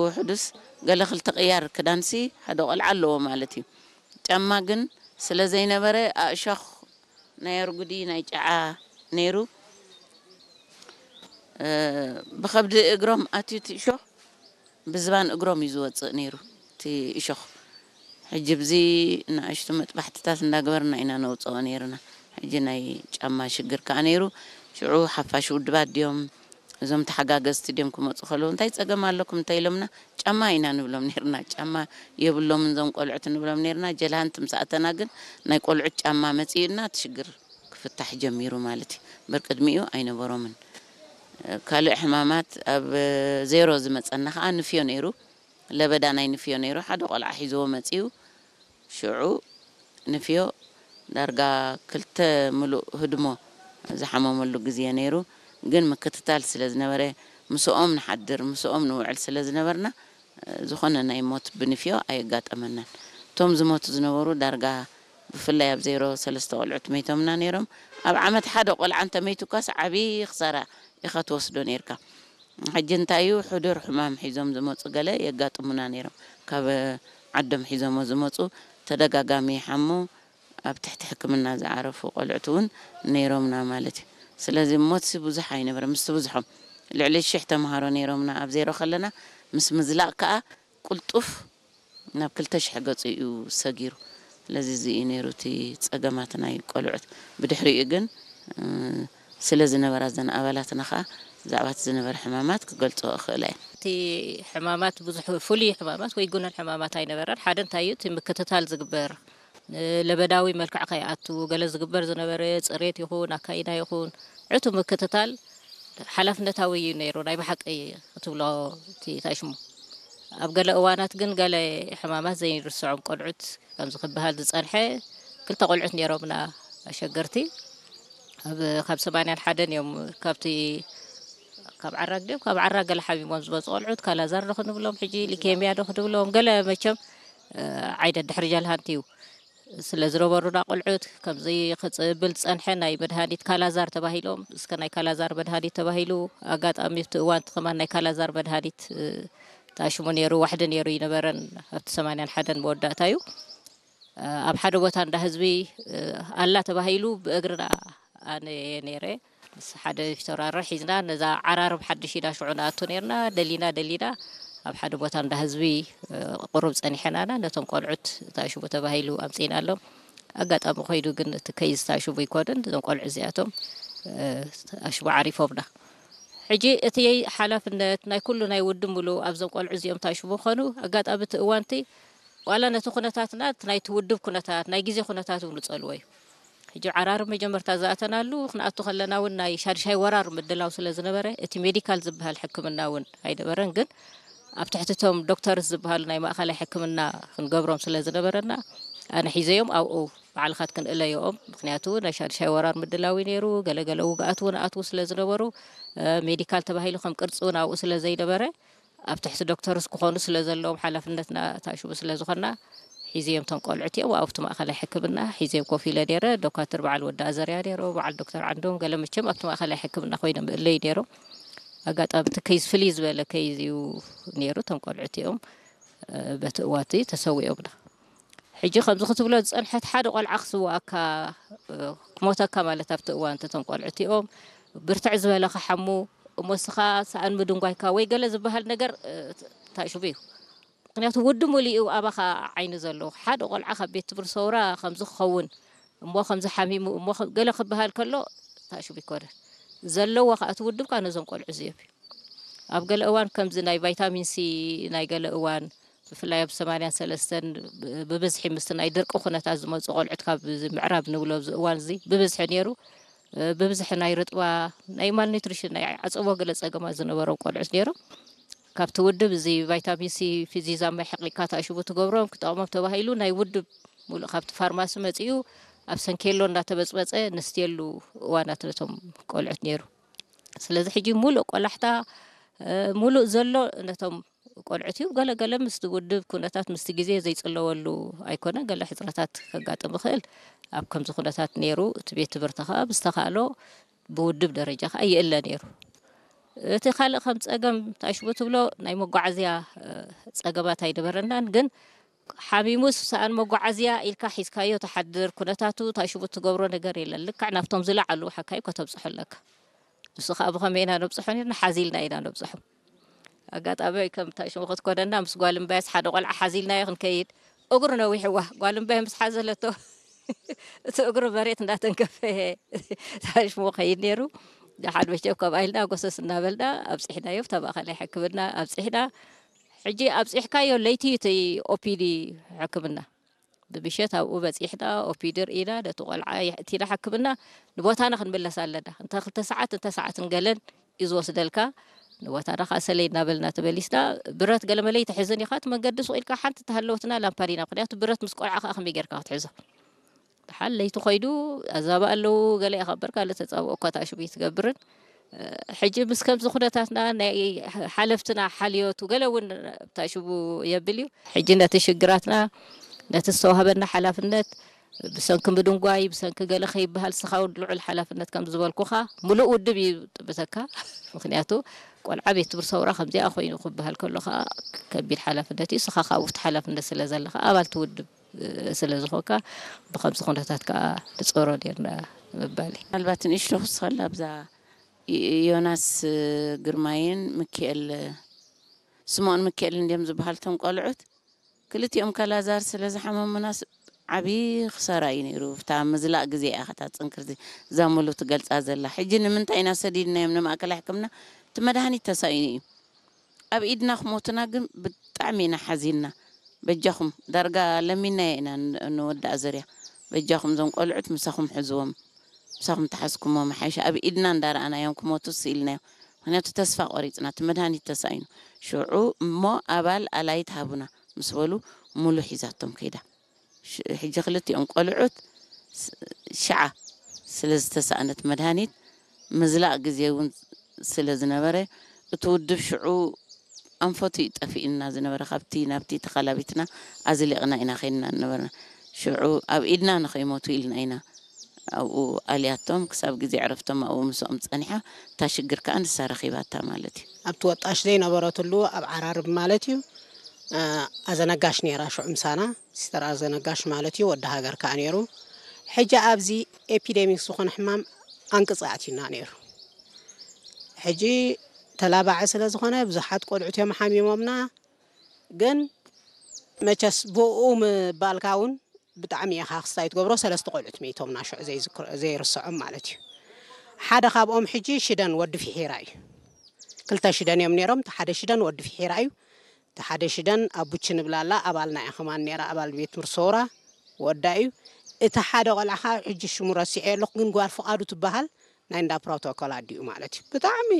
ውሕዱስ ገለ ክልተ ቅያር ክዳንሲ ሓደ ቆልዓ ኣለዎ ማለት እዩ። ጫማ ግን ስለ ዘይነበረ ኣእሾኽ ናይ ኣርጉዲ ናይ ጨዓ ነይሩ። እ፣ ብኸብዲ እግሮም ኣትዩ እቲ እሾኽ ብዝባን እግሮም እዩ ዝወፅእ ነይሩ እቲ እሾኽ። ሕጂ ብዚ ንኣሽቱ መጥባሕትታት እንዳገበርና ኢና ነውፅኦ ነይርና። ሕጂ ናይ ጫማ ሽግር ከዓ ነይሩ። ሽዑ ሓፋሽ ውድባት ድዮም እዞም ተሓጋገዝቲ ድዮም ክመፁ ከለዉ እንታይ ፀገም ኣለኩም እንታይ ኢሎምና ጫማ ኢና ንብሎም ነይርና። ጫማ የብሎምን እዞም ቆልዑት ንብሎም ነይርና። ጀልሃንት ምስ ኣተና ግን ናይ ቆልዑት ጫማ መፂኡና እቲ ሽግር ክፍታሕ ጀሚሩ ማለት እዩ። እምበር ቅድሚኡ ኣይነበሮምን። ካልእ ሕማማት ኣብ ዜሮ ዝመፀና ከዓ ንፍዮ ነይሩ። ለበዳ ናይ ንፍዮ ነይሩ። ሓደ ቆልዓ ሒዝዎ መፂኡ። ሽዑ ንፍዮ ዳርጋ ክልተ ምሉእ ህድሞ ዝሓመመሉ ግዜ ነይሩ። ግን ምክትታል ስለ ዝነበረ ምስኦም ንሓድር ምስኦም ንውዕል ስለ ዝነበርና ዝኾነ ናይ ሞት ብንፍዮ ኣየጋጠመናን። እቶም ዝሞቱ ዝነበሩ ዳርጋ ብፍላይ ኣብ ዜሮ ሰለስተ ቆልዑት መይቶምና ነይሮም። ኣብ ዓመት ሓደ ቆልዓ እንተመይቱካስ ዓብዪ ክሳራ ኢኻ ትወስዶ ነይርካ። ሕጂ እንታይ እዩ፣ ሕዱር ሕማም ሒዞም ዝመፁ ገለ የጋጥሙና ነይሮም። ካብ ዓዶም ሒዞሞ ዝመፁ ተደጋጋሚ ይሓሙ፣ ኣብ ትሕቲ ሕክምና ዝዓረፉ ቆልዑት እውን ነይሮምና ማለት እዩ። ስለዚ ሞትሲ ብዙሕ ኣይነበረ፣ ምስቲ ብዙሖም ልዕሊ ሽሕ ተምሃሮ ነይሮምና ኣብ ዜሮ ከለና፣ ምስ ምዝላቕ ከዓ ቅልጡፍ ናብ ክልተ ሽሕ ገፁ እዩ ሰጊሩ። ስለዚ እዚ እዩ ነይሩ እቲ ፀገማት ናይ ቆልዑት። ብድሕሪኡ ግን፣ እ፣ ስለ ዝነበራ እዘን ኣባላትና ከዓ ብዛዕባ እቲ ዝነበረ ሕማማት ክገልፅኦ እኽእላ እየ። እቲ ሕማማት ብዙሕ ፍሉይ ሕማማት ወይ ጉኑን ሕማማት ኣይነበረን። ሓደ እንታይ እዩ፣ እቲ ምክትታል ዝግበር፣ እ፣ ለበዳዊ መልክዕ ከይኣቱ ገለ ዝግበር ዝነበረ፣ ፅሬት ይኹን ኣካይዳ ይኹን ዕቱ ምክትታል ሓላፍነታዊ እዩ ነይሩ። ናይ ብሓቂ ክትብሎ እቲ እንታይ ሽሙ ኣብ ገለ እዋናት ግን ገለ ሕማማት ዘይርስዖም ቆልዑት ከምዚ ክበሃል ዝጸንሐ ክልተ ቆልዑት ነይሮምና ኣሸገርቲ። ኣብ፣ ካብ ሰማንያን ሓደን እዮም ካብቲ፣ ካብ ዓራግ ድዮም፣ ካብ ዓራግ ገለ ሓሚሞም ዝመጹ ቆልዑት፣ ካላዛር ዶ ክንብሎም ሕጂ፣ ሊኬምያ ዶ ክንብሎም፣ ገለ መቸም፣ እ፣ ዓይነት ድሕሪ ጃልሃንቲ እዩ ስለ ዝነበሩና ቆልዑት፣ ከምዚ ክጽብል ዝጸንሐ ናይ መድሃኒት ካላዛር ተባሂሎም፣ እስከ ናይ ካላዛር መድሃኒት ተባሂሉ፣ ኣጋጣሚ ኣብቲ እዋን እቲ ከማን ናይ ካላዛር መድሃኒት፣ እ፣ ታሽሙ ነይሩ፣ ዋሕዲ ነይሩ ይነበረን፣ ኣብቲ ሰማንያን ሓደን መወዳእታ እዩ። እ፣ ኣብ ሓደ ቦታ እንዳ ህዝቢ፣ እ፣ ኣላ ተባሂሉ ብእግርና ኣነ እየ ነይረ። ምስ ሓደ ፊተውራሪ ሒዝና ነዛ ዓራርብ ሓድሽ ኢና ሽዑ ንኣቱ ነይርና። ደሊና ደሊና ኣብ ሓደ ቦታ እንዳ ህዝቢ፣ እ፣ ቁሩብ ጸኒሐናና ነቶም ቆልዑት ታሽሙ ተባሂሉ ኣምጺእናሎም። ኣጋጣሚ ኮይዱ ግን እቲ ከይዝ ታሽሙ ኣይኮነን። እዞም ቆልዑ እዚኣቶም፣ እ፣ ታሽሙ ዓሪፎምና። ሕጂ እቲ ሓላፍነት ናይ ኩሉ ናይ ውድብ ምሉእ ኣብዞም ቆልዑ እዚኦም ታሽሙ ምዃኑ ኣጋጣሚ እቲ እዋንቲ ዋላ ነቲ ኩነታትና፣ እቲ ናይቲ ውድብ ኩነታት፣ ናይ ግዜ ኩነታት እውን ንጸልዎ እዩ። ሕጂ ዓራርብ መጀመርታ ዝኣተናሉ፣ ክንኣቱ ከለና እውን ናይ ሻድሻይ ወራር ምድላው ስለ ዝነበረ፣ እቲ ሜዲካል ዝበሃል ሕክምና እውን ኣይነበረን። ግን ኣብ ትሕቲ እቶም ዶክተርስ ዝበሃሉ ናይ ማእከላይ ሕክምና ክንገብሮም ስለ ዝነበረና፣ ኣነ ሒዘዮም ኣብኡ ባዕልኻ ትክንእለዮኦም። ምኽንያቱ ናይ ሻድሻይ ወራር ምድላው እዩ ነይሩ። ገለ ገለ ውግኣት እውን ኣትዉ ስለ ዝነበሩ፣ እ፣ ሜዲካል ተባሂሉ ከም ቅርጺ እውን ኣብኡ ስለ ዘይነበረ፣ ኣብ ትሕቲ ዶክተርስ ክኾኑ ስለ ዘለዎም ሓላፍነትና ታሽሙ ስለ ዝኾንና፣ ሒዘዮም እቶም ቆልዑት እዮም ኣብቲ ማእከላይ ሕክምና ሒዘዮም ኮፍ ኢለ ነይረ። ዶካትር በዓል ወዲ ኣዘርያ ነይሩ፣ በዓል ዶክተር ዓንዶም ገለ መቸም ኣብቲ ማእከላይ ሕክምና ኮይኖም እለዩ ነይሮም። ኣጋጣሚ እቲ ከይዝ ፍልይ ዝበለ ከይዝ እዩ ነይሩ። እቶም ቆልዑት እዮም፣ እ፣ በቲ እዋንቲ ተሰዊኦምና። ሕጂ ከምዚ ክትብሎ ዝጸንሐት ሓደ ቆልዓ ክስውኣካ፣ እ፣ ክሞተካ ማለት ኣብቲ እዋን እቲ እቶም ቆልዑት እዮም ብርትዕ ዝበለ ክሓሙ እሞ እስኻ ሰኣን ምድንጓይካ ወይ ገለ ዝበሃል ነገር፣ እ፣ ታሽቡ እዩ። ምኽንያቱ ውዲ ሙሉእ እዩ ኣባኻ ዓይኒ ዘለዎ። ሓደ ቆልዓ ካብ ቤት ትምህርቲ ሰውራ ከምዚ ክኸውን እሞ ከምዚ ሓሚሙ እሞ ከ-፣ ገለ ክበሃል ከሎ ታሽቡ ይኮነን። ዘለዎ ከኣ እቲ ውድብካ ነዞም ቆልዑ እዚኦም እዩ። ኣብ ገለ እዋን ከምዚ ናይ ቫይታሚን ሲ ናይ ገለ እዋን ብፍላይ ኣብ ሰማንያን ሰለስተን ብ-፣ ብብዝሒ ምስቲ ናይ ድርቂ ኩነታት ዝመጹ ቆልዑት ካብ እዚ ምዕራብ ንብሎ ኣብዚ እዋን እዚ ብብዝሒ ነይሩ። እ፣ ብብዝሒ ናይ ርጥባ፣ ናይ ማልኒትሪሽን፣ ናይ ዓጸቦ ገለ ጸገማት ዝነበሮም ቆልዑት ነይሮም። ካብቲ ውድብ እዚ ቫይታሚን ሲ ፊዚዛ ማይ ሕቂካ ታሽቡ ትገብሮም ክጠቕሞም ተባሂሉ ናይ ውድብ ሙሉእ ካብቲ ፋርማሲ መጺኡ ኣብ ሰንኬሎ እንዳተበጽበጸ ነስትየሉ እዋናት ነቶም ቆልዑት ነይሩ። ስለዚ ሕጂ ሙሉእ ቆላሕታ፣ እ፣ ሙሉእ ዘሎ ነቶም ቆልዑት እዩ። ገለ ገለ ምስቲ ውድብ ኩነታት ምስቲ ግዜ ዘይጽለወሉ ኣይኮነን። ገለ ሕጽረታት ከጋጥም ይኽእል። ኣብ ከምዚ ኩነታት ነይሩ። እቲ ቤት ትምህርቲ ከኣ ብዝተኻእሎ ብውድብ ደረጃ ከኣ ይእለ ነይሩ። እቲ ካልእ ከም ጸገም ታሽቡ ትብሎ ናይ መጓዓዝያ ጸገማት ኣይነበረናን። ግን ሓሚሙስ ሰኣን መጓዓዝያ ኢልካ ሒዝካዮ ትሓድር፣ ኩነታቱ ታሽቡ ትገብሮ ነገር የለን። ልክዕ ናብቶም ዝለዓሉ ሓካይ ከተብጽሖ ኣለካ። ንሱ ከዓ ብኸመይ ኢና ነብጽሖ ነርና? ሓዚልና ኢና ነብጽሖ። ኣጋጣሚ ከም ታሽሙ ክትኮነና ምስ ጓል እምባያስ ሓደ ቆልዓ ሓዚልናዮ ክንከይድ፣ እግሩ ነዊሕዋ ጓል እምባይ ምስ ሓዘለቶ እቲ እግሩ መሬት እንዳተንከፈ ታሽሙ ከይድ ነይሩ። ደሓን መቸም ከምኣ ኢልና ጎሰስ እናበልና ኣብፂሕናዮ፣ ብታ ማእኸላይ ሕክምና ኣብፂሕና። ሕጂ ኣብፂሕካዮ ለይቲ እዩ እቲ ኦፒዲ ሕክምና። ብምሸት ኣብኡ በፂሕና፣ ኦፒዲ ርኢና፣ ነቲ ቆልዓ የእቲና ሕክምና። ንቦታና ክንምለስ ኣለና። እንተ ክልተ ሰዓት እንተ ሰዓትን ገለን እዩ ዝወስደልካ። ንቦታና ከዓ ሰለይ እናበልና ተመሊስና። ብረት ገለመለይ ተሒዝን ኢኻ እቲ መንገዲ ሱቕ ኢልካ ሓንቲ ተሃለወትና ላምፓዲና፣ ምክንያቱ ብረት ምስ ቆልዓ ከዓ ከመይ ጌርካ ክትሕዞ? ደሓን ለይቲ ኮይዱ ኣዛባ ኣለዉ፣ ገለ ኢኻ እምበር ካልእ ተጻብኦ እኳ ታሽሙ ይትገብርን። ሕጂ ምስ ከምዚ ኩነታትና ናይ ሓለፍትና ሓልዮቱ ገለ እውን ታሽሙ የብል እዩ። ሕጂ ነቲ ሽግራትና፣ ነቲ ዝተዋህበና ሓላፍነት ብሰንኪ ምድንጓይ፣ ብሰንኪ ገለ ከይበሃል፣ ስኻ እውን ልዑል ሓላፍነት ከም ዝበልኩኻ ምሉእ ውድብ እዩ ጥምተካ። ምክንያቱ ቆልዓ ቤት ትምህርቲ ሰውራ ከምዚኣ ኮይኑ ክበሃል ከሎ ከዓ ከቢድ ሓላፍነት እዩ። ስኻ ካብኡ እቲ ሓላፍነት ስለ ዘለኻ ኣባል እቲ ውድብ ስለ ዝኾንካ ብከምዚ ኩነታት ከዓ ንፀሮ ነርና ምባል እዩ። ምናልባት ንእሽቶ ክስኸላ ኣብዛ ዮናስ ግርማይን ምክኤል ስምኦን ምክኤልን እንድዮም ዝበሃል እቶም ቆልዑት። ክልቲኦም ከላዛር ስለ ዝሓመሙናስ ዓብዪ ክሳራ እዩ ነይሩ። ብታ ምዝላእ ግዜ እያ ከታ ጽንክርቲ እዛ ሙሉ ትገልጻ ዘላ። ሕጂ ንምንታይ ኢና ሰዲድናዮም ንማእከላይ ሕክምና? እቲ መድሃኒት ተሳኢኑ እዩ። ኣብ ኢድና ክሞቱና ግን ብጣዕሚ ኢና ሓዚንና። በጃኹም ዳርጋ ለሚናዮ ኢና ን- ንወዳእ ዝርያ። በጃኹም እዞም ቆልዑት ምሳኹም ሕዝዎም። ምሳኹም ተሓዝኩሞም ሓይሻ ኣብ ኢድና እንዳረኣናዮም ክሞቱ ስኢልናዮም። ምክንያቱ ተስፋ ቆሪፅና እቲ መድሃኒት ተሳኢኑ። ሽዑ እሞ ኣባል ኣላይት ሃቡና ምስ በሉ ሙሉ ሒዛቶም ከይዳ። ሽ- ሕጂ ክልቲኦም ቆልዑት ስ- ሽዓ ስለ ዝተሳእነት መድሃኒት ምዝላእ ግዜ እውን ስለ ዝነበረ እቲ ውድብ ሽዑ ኣንፈቱ እዩ ጠፊእና ዝነበረ። ካብቲ ናብቲ ተኸላቢትና ኣዝሊቕና ኢና ከይድና ነበርና። ሽዑ ኣብ ኢድና ንኸይሞቱ ኢልና ኢና ኣብኡ ኣልያቶም። ክሳብ ግዜ ዕረፍቶም ኣብኡ ምስኦም ጸኒሓ፣ እታ ሽግር ከኣ ንሳ ረኺባታ ማለት እዩ። ኣብቲ ወጣሽ ዘይነበረትሉ ኣብ ዓራርብ ማለት እዩ። ኣዘነጋሽ ነይራ ሽዑ ምሳና፣ ሲስተር ኣዘነጋሽ ማለት እዩ። ወዲ ሃገር ከኣ ነይሩ። ሕጂ ኣብዚ ኤፒደሚክ ዝኾነ ሕማም ኣንቅጻ ኣቲና ነይሩ። ሕጂ ተላባዒ ስለ ዝኾነ ብዙሓት ቆልዑት እዮም ሓሚሞምና። ግን መቸስ ብኡ ምባልካ እውን ብጣዕሚ ኢኻ ክስታይ ትገብሮ። ሰለስተ ቆልዑት መይቶምና ሽዑ ዘይዝክሮ- ዘይርስዖም ማለት እዩ። ሓደ ካብኦም ሕጂ ሽደን ወዲ ፊሒራ እዩ። ክልተ ሽደን እዮም ነይሮም። እቲ ሓደ ሽደን ወዲ ፊሒራ እዩ። እቲ ሓደ ሽደን ኣቡቺ ንብላላ ኣባልና እያ ከማን ነይራ፣ ኣባል ቤት ትምህርቲ ሰውራ ወዳ እዩ። እቲ ሓደ ቆልዓ ኸዓ ሕጂ ሽሙ ረሲዐ ኣለኹ፣ ግን ጓል ፍቓዱ ትበሃል ናይ እንዳ ፕሮቶኮል ኣዲኡ ማለት እዩ። ብጣዕሚ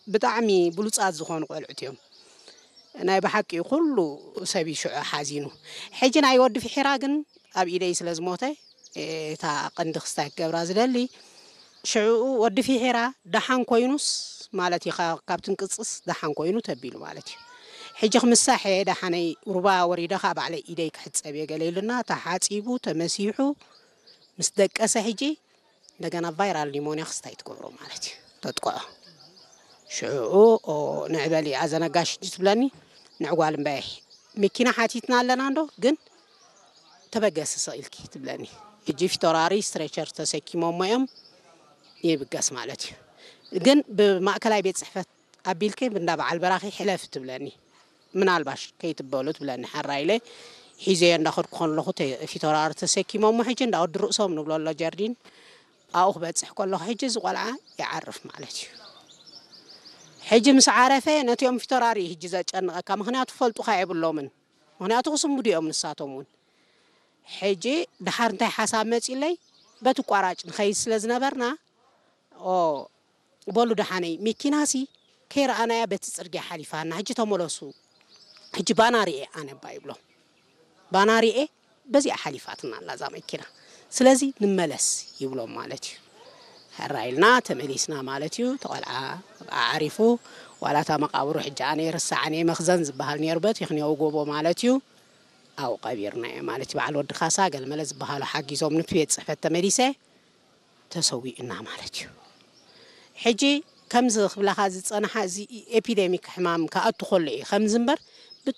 ብጣዕሚ ብሉጻት ዝኾኑ ቆልዑት እዮም። ናይ ብሓቂ ኩሉ ሰብ እዩ ሽዑ ሓዚኑ። ሕጂ ናይ ወዲ ፍሒራ ግን ኣብ ኢደይ ስለ ዝሞተ፣ እታ ቀንዲ ክስታይ ክገብራ ዝደሊ ሽዑ ወዲ ፍሒራ ደሓን ኮይኑስ ማለት እዩ፣ ካብ ትንቅጽስ ደሓን ኮይኑ ተቢሉ ማለት እዩ። ሕጂ ክምሳሕ እየ ደሓነይ ሩባ ወሪደ ከዓ ባዕለይ ኢደይ ክሕጸብ እየ ገለ ኢሉና ተሓጺቡ ተመሲሑ ምስ ደቀሰ ሕጂ እንደገና ቫይራል ኒሞንያ ክስታይ ትገብሮ ማለት እዩ። ተጥቅዖ ሽዑ ንዕበሊ ኣዘነጋሽ ትብለኒ ንዕጓል እምበይ መኪና ሓቲትና ኣለና እንዶ ግን ተበገሲ ስቕ ኢልኪ ትብለኒ። ሕጂ ፊቶራሪ ስትሬቸር ተሰኪሞሞ እዮም ይብገስ ማለት እዩ። ግን ብማእከላይ ቤት ጽሕፈት ኣቢልኪ እንዳ በዓል በራኺ ሕለፊ ትብለኒ። ምናልባሽ ከይትበሉ ትብለኒ። ሓራ ኢለ ሒዘዮ እንዳኸድኩ ከለኹ ፊቶራሪ ተሰኪሞሞ ሕጂ እንዳ ወዲ ርእሶም ንብሎ ኣሎ ጀርዲን ኣብኡ ክበፅሕ ከለኹ ሕጂ እዚ ቆልዓ ይዓርፍ ማለት እዩ። ሕጂ ምስ ዓረፈ ነቲኦም ፊቶራሪ እዩ ሕጂ ዘጨንቐካ፣ ምክንያቱ ፈልጡኻ የብሎምን። ምክንያቱ ክስምዱ እዮም ንሳቶም እውን። ሕጂ ድሓር እንታይ ሓሳብ መፂለይ፣ በቲ ቋራጭ ንኸይድ ስለ ዝነበርና፣ ኦ በሉ ደሓነይ መኪናሲ ከይረኣናያ በቲ ፅርግያ ሓሊፋና፣ ሕጂ ተመለሱ፣ ሕጂ ባና ርኤ ኣነ እባ ይብሎም። ባና ርኤ በዚኣ ሓሊፋትና ኣላ እዛ መኪና፣ ስለዚ ንመለስ ይብሎም ማለት እዩ። ሕራ ኢልና ተመሊስና ማለት እዩ። ተቆልዓ ኣዕሪፉ ዋላታ መቃብሩ ሕጂ ኣነ ይርሳዕን እየ፣ መኽዘን ዝበሃል ነይሩ በቲ ይኽንየው ጎቦ ማለት እዩ። ኣብኡ ቀቢርናዮ ማለት እዩ። በዓል ወዲ ካሳ ገለመለ ዝበሃሉ ሓጊዞም ንቲ ቤት ፅሕፈት ተመሊሰ ተሰዊእና ማለት እዩ። ሕጂ ከምዚ ክብላኻ ዝጸንሓ፣ እዚ ኤፒደሚክ ሕማም ክኣቱ ከሎ እዩ ከምዚ እምበር፣